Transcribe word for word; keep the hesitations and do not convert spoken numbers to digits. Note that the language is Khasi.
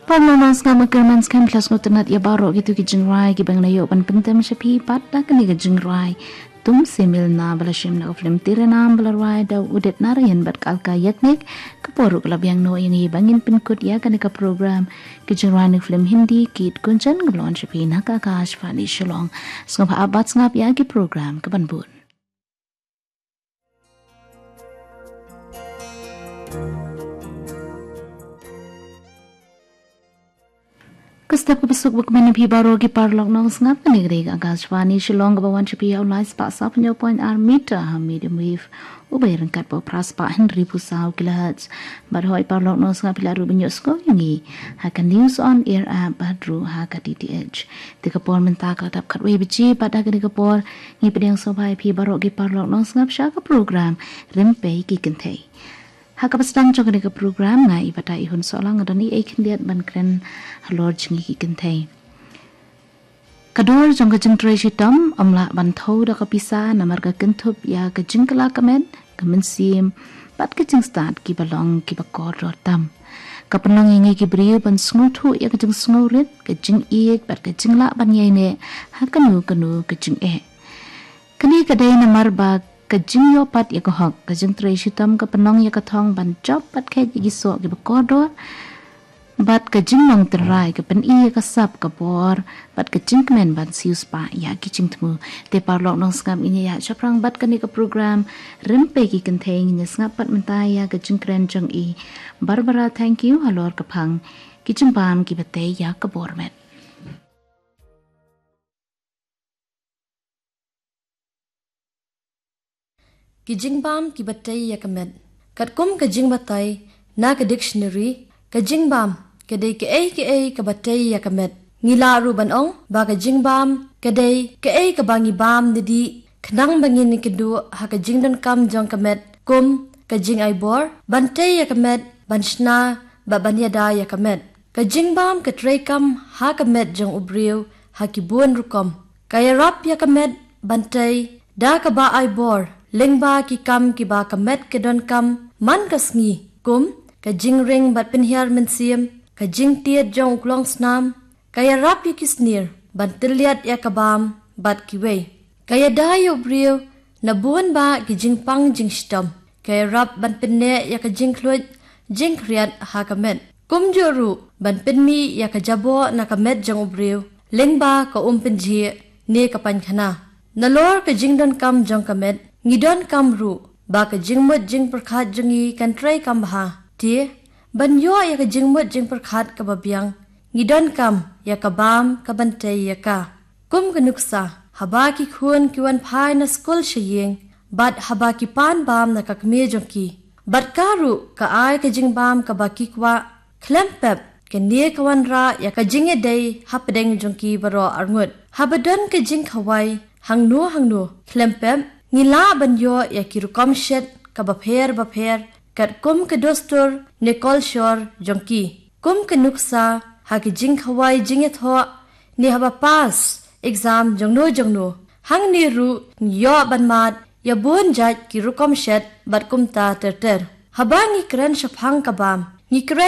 Paralok nongsngap, nga kyrmen skhem phi la sngewtynnat ïa baroh kito ki jingrwai kiba ngi la ïoh ban pyntem sha phi. Pat da kane ka jingrwai Tumse Milna ba la shim na ka film Tere Naam ba la rwai da u Udit Narayan bad ka Alka Yagnik, ka por ruh ka la biang noh ïa ngi ba ngin pynkut ïa kane ka program ki jingrwai na ka film Hindi Geet Gunjan kaba la wan sha phi na ka Akashvani Shillong. Sngewbha ap bad sngap ïa ki program kaban bud. Ka step kaba suk ba kmen ïa phi baroh ki paralok nongsngap, kane ka dei ka Akashvani Shillong kaba wan sha phi ha u lai spah saphew point ar meter ha medium wave uba ïaryngkat bad phra spah hynriewphew saw kilohertz. Bad hooid paralok nongsngap, phi lah ruh ban ïohsngew ïa ngi ha ka News on Air app bad ruh ha ka D T H. Te ka por mynta ka la dap khatwei baje bad ha kane ka por ngi pdiang sngewbha ïa phi baroh ki paralok nongsngap sha ka program Rympei ki Kynthei. Ha kaba sdang jong kane ka program, nga i Batai Ihun Sohlang nga don i ei khyndiat ban kren halor jong ngi ki kynthei. Ka dor jong ka jingtrei shitom ym lah ban thew da ka pisa namar ka kynthup ïa ka jingkylla ka met, ka mynsiem bad ka jingstad kiba long kiba kordor tam. Ka pynlong ïa ngi ki briew ban sngewthuh ïa ka jingsngewrit, ka jingïeit bad ka jinglah ban ïaineh ha kano kano ka jingeh. Kane ka dei namar ba ka jingïoh pat ïa ka hok, ka jingtrei shitom ka pynlong ïa ka thong ban jop bad kheit ïa ki soh kiba kordor, bad ka jinglong tynrai ka pyni ïa ka sap ka bor bad ka jingkmen ban siewspah ïa ki jingthmu. Te paralok nongsngap, ngin ïa shaphrang bad kane ka program Rympei ki Kynthei, ngin ïa sngap pat mynta ïa ka jingkren jong i Barbara Thangkhiew halor ka phang Ki Jingbam Kiba Tei ïa ka Bor Met. Ki jingbam kiba tei ïa ka met. Katkum ka jingbatai na ka dictionary, ka jingbam ka dei kaei kaei kaba tei ïa ka met. Ngi lah ruh ban ong ba ka jingbam ka dei kaei kaba ngi bam nadih khnang ba ngin ïakynduh ha ka jingdonkam jong ka met, kum ka jingai bor, ban tei ïa ka met, ban shna bad ban ïada ïa ka met. Ka jingbam ka treikam ha ka met jong u briew ha ki bun rukom. Ka ïarap ïa ka met ban tei da kaba ai bor lyngba ki kam kiba ka met ka donkam man ka sngi, kum ka jingring bad pynhiar mynsiem, ka jingtied jong u klongsnam. Ka ïarap ïa ki snier ban tylliat ïa ka bam bad kiwei. Ka ïada ïa u briew na bun bah ki jingpang jingshitom. Ka ïarap ban pynneh ïa ka jingkhluit jingkhriat ha ka met. Kumjuh ruh ban pynmih ïa ka jaboh na ka met jong u briew lyngba ka umpynjhieh ne ka painkhana. Nalor ka jingdonkam jong ka met, ngi donkam ruh ba ka jingmut jingpyrkhat jong ngi kan treikam bha. Te ban ïoh ïa ka jingmut jingpyrkhat kaba biang, ngi donkam ïa ka bam kaban tei ïa ka. Kum ka nuksa, haba ki khun ki wan phai na skul sha ïing bad haba ki pan bam na ka kmie jong ki, bad ka ruh ka ai ka jingbam kaba ki kwah, khlem pep kane ka wanrah ïa ka jingïadei hapdeng jong ki baroh arngut. Haba don ka jingkhawai hangno hangno, khlem pep ngi lah ban ïoh ïa ki rukom shet kaba pher bapher katkum ka dustur ne kolshor jong ki. Kum ka nuksa, ha ka jingkhawai jingïathoh ne haba pass exam jongno jongno, hangne ruh ngi ïoh ban mad ïa bun jait ki rukom shet bad kumta ter ter. Haba ngi kren shaphang ka bam, ngi kren